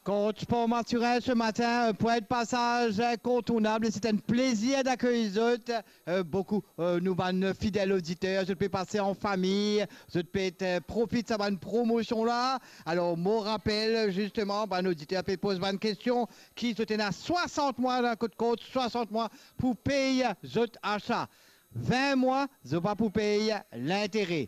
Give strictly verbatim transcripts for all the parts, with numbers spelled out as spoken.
Kort Sport Mathurin ce matin, euh, point de passage incontournable, c'est un plaisir d'accueillir zot. Euh, beaucoup, euh, nou bann fidèl oditer, zot pe pase an fami, zot pe, euh, profit sa bann promosion la. Alor, mo rapel, zisteman, bann oditer pe poz bann kestion, ki zot ena swasant mwa dan kot kont, swasant mwa pou pey zot asa. Vin mwa, zot pa pou pey lintere.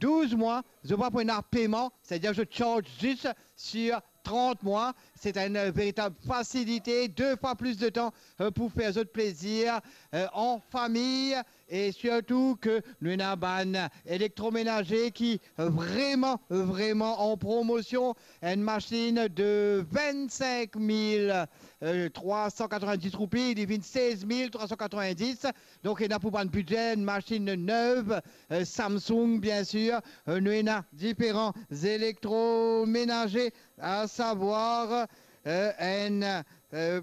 Douz mwa, zot pa pou ena peman, setadir zot charge zis sir trant mwa. Se enn veritab fasilite, de fwa plis de tan, euh, pou fer zot plezir, euh, an fami, e sirtou ke nou ena bann elektromenaze ki vreman, vreman an promosion. Enn masinn de vinn-sink mil, euh, trwa san katrovin-dis roupi, li vinn sez mil trwa san katrovin-dis. Donk, ena pou bann bidze, enn masinn nev, euh, Samsung, bien sir. Euh, nou ena diferan elektromenaze, a savwar, euh, enn, euh,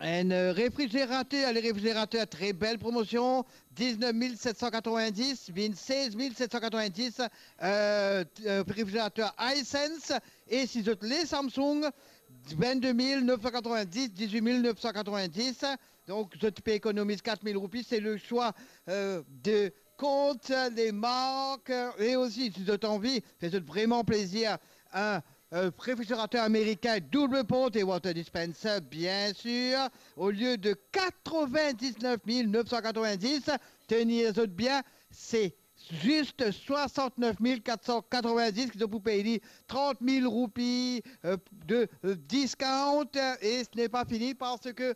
enn, euh, refrizerater, le refrizerater, tre bel promosion, diznef mil set san katrovin-dis, vinn sez mil set san katrovin-dis, euh, t-, euh, refrizerater Hisense, e si zot le Samsung, vinn-de mil nef san katrovin-dis, diz-wit mil nef san katrovin-dis. Donk, zot pe ekonomiz kat mil roupi, se le swa, euh, de kont, de mark, euh, e osi, si zot anvi fer zot vreman plezir, enn, euh, refrizerater amerikin doub port e water dispenser, bien sir, olie de katrovin-diznef mil nef san katrovin-dis, tenir zot bien, se zis swasant-nef mil kat san katrovin-dis ki zot pou pey li, trant mil roupi, euh, de, euh, discount, euh, e se n'est pas fini parce que